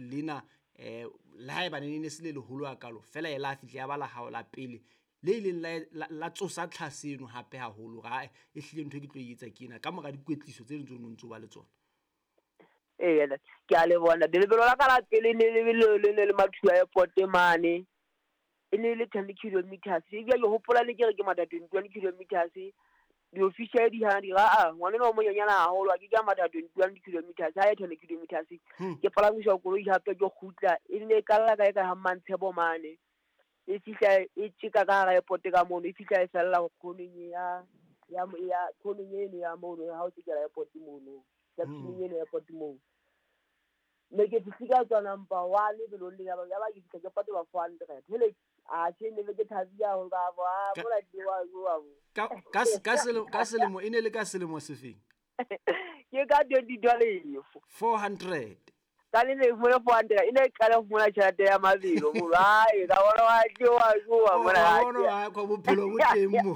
lena le haeba ne se le leholo hakalo fela e la fihla ya ba la hao la pele le ileng la tsosa tlhaseno hape haholo ra e hlile ntho e ke tlo e etsa ke ena ka mora dikwetliso tse ding tseo no ntso ba le tsona. Ee, ke a leboha ntate. Lebelo la ka la pele ne le le ne le Mathua Airport mane. E ne le 10 kilometers. Ebile ke hopola ne ke re ke matha 21 kilometers. Di-official di hana di ra a ngwana enwa o monyenyana haholo, a ke ke a matha 21 kilometers, ha e 10 kilometers. Ke palamiswa koloi hape ke kgutla. E ne e kalla kae kae ha Mmantshebo mane. E fihla e tjeka ka hara airport ka mono, e fihla e fella khoneng ya ya ya khoneng eno ya mono ha o tjekela airport mono. Junction eno airport moo. Ne ke fihle ka tswa number 1 lebelong le ya ba ke fihla ke patela 400. Hele a tjhe ne ke thabile haholo ka bo a mola ke wa wa. Ka selemo e ne le ka selemo sefeng? Ke ka 2012. 400. Ka le ne fumana 400 e ne e qala ho fumana tjhelete ya mabelo mo hae ka bona wa ke wa jowa mona ha bona wa kwa bophelo bo teng mo.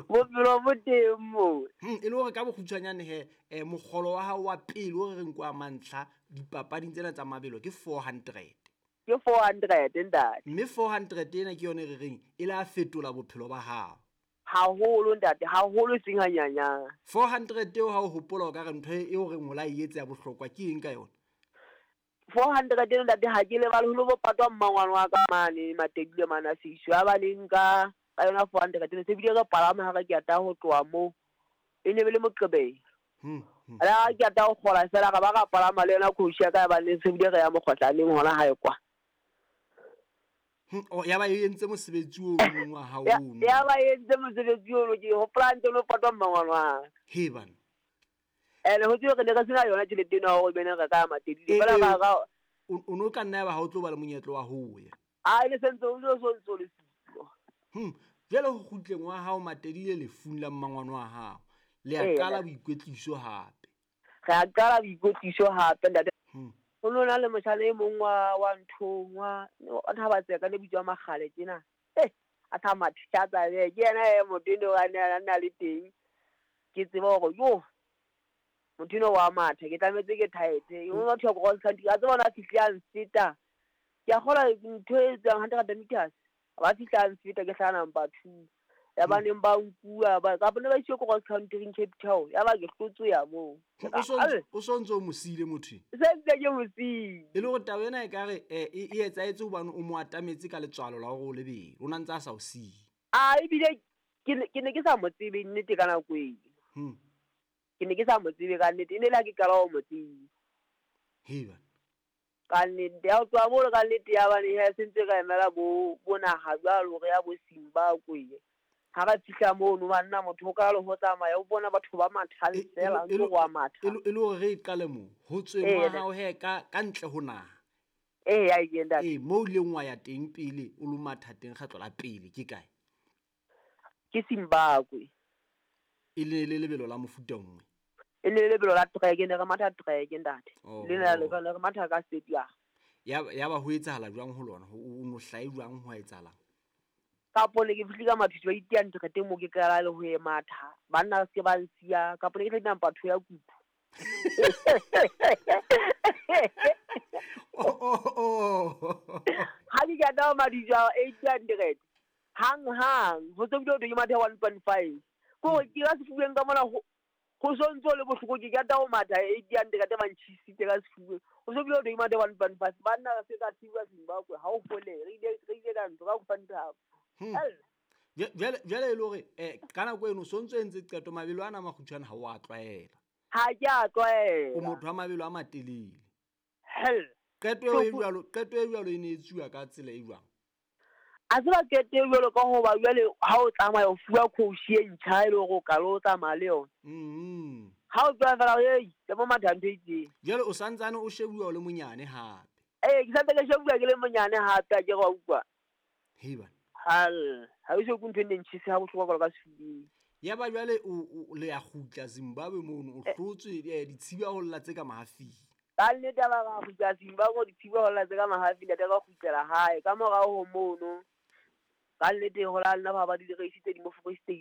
Bophelo bo teng mo. E le hore ka bokgutshwanyane he mokgolo wa hao wa pele o re reng kwa mantlha dipapading tsena tsa mabelo ke 400. Ke 400 ntate. Mme 400 ena ke yone re reng e la fetola bophelo ba hao. Haholo ntate, haholo seng hanyanyana. 400 eo ha o hopola o ka re ntho eo re ngola e etse ya bohlokwa ke eng ka yona? 400 eno ntate ha ke lebale ho lo patwa mmangwane wa ka mane Matedile mane a Seiso ya ba neng ka yona 400 eno se bile re palama ha re ke ata ho tloha moo e ne be le Moqebelo. Ala ke ata ho kgola fela ra ba ra palama le yona coach ya ka ya ba ne se bile re ya mokgotlaneng hona hae kwa. Ya ba e entse mosebetsi o mong wa hao ono. Ya ba e entse mosebetsi ono ke hopola ntse lo patwa mmangwane wa. He bana. Ene ho tswe re ne re sena yona tjhelete eno hore bene re ka Matedile fela ba ra o no ka nna ba ha o tlo ba le monyetlo wa ho ya. A ile sentse o so ntso le siko. Jwale ho kgutleng wa hao Matedile lefung la mmangwane wa hao. Le a qala boikwetliso hape. Re a qala boikwetliso hape ntate. Ho no na le motjhana e mong wa nthong wa Thabatseka le bitswa Makgale tjena. A tha mathatsa ke yena e motho eno a na le teng. Ke tseba hore yo motho eno wa matha ke tlametse ke tight. O no thwa cross country a tseba ona fihla a nfeta. Ke a kgola ntho e tswang 100 meters. Ba fihla a nfeta ke hlana number 2. Ya ba neng ba nkuwa ba ka bone ba iswe cross country in Cape Town. Ya ba ke hlotswe ya moo. O sontso o mosile motho. Se ntse ke mosile. E le hore taba ena e ka re e etsaetse hobane o mo atametse ka letswalo la hore o lebelo. O na ntse a sa o siye. A ebile ke ne ke sa mo tsebe nnete ka nako eo. Ke ne ke sa mo tsebe ka nnete. E ne le ha ke qala ho mo tseba. He bana. Ka nnete ya tswa mo ka nnete ya bane he sentse ka emela bo naha jwalo re ya bo Zimbabwe. Ha ba fihla mono banna motho o ka le ho tsamaya o bona batho ba mathang fela ntse go a matha. E le hore re qale mo ho tsweng wa hao he ka ntle ho naha. Ya ke ntate. Mo ileng wa ya teng pele o lo matha teng kgetlo la pele ke kae? Ke Zimbabwe. E le lebelo la mofuta nngwe. E le lebelo la track ne re matha track ntate. Le na le re matha ka stadium. Ya ba ho etsahala jwang ho lona? O no hlae jwang ho etsahalang? Kapo ne ke fihle ka mathuso ba iteang teng mo ke qala le ho e matha. Banna se ba nsiya kapo ne ke tla number 2 ya kupu. Ha ke ka tla mathuso 800 hang hang ho tse bile ke matha 1.5. Ko ke ka sefubeng ka mona ho sontso le bohloko ke ka tla ho matha 800 ba ntjhisitse ka sefubeng. Ho so bile ke matha 1.5 banna se ka thiba Zimbabwe ha o fole re ile ka ntho ka go. Jwale e le hore ka nako eno sontso entse qeto mabelo ana makgutshwane ha o a tlwaela. Ha ke a tlwaela. O motho wa mabelo a matelele. Hell. Qeto e jwalo e ne e tsuwa ka tsela e jwang? A tseba qeto e jwalo ka hoba jwale ha o tsamaya o fuwa coach e ntjha e le hore o ka lo tsamaya le yona. Ha o tswa fela ke mo matha ntho e itseng. Jwale o santsane o shebuwa o le monyane hape. Ke santse ke shebuwa ke le monyane hape a ke re wa utlwa. He bana. Hal ha o se go ntho e ntshise ha bohlokwa ka sefubeng. Ya ba jwale o le ya kgutla Zimbabwe mono o hlotswe ditshiba ho lla tse ka mahafing. Ka nnete ba ba kgutla Zimbabwe ditshiba ho lla tse ka mahafing ntate ba kgutlela hae ka morao ho mono. Ka nnete ho la nna ba ba di reisi tse di mo Free State.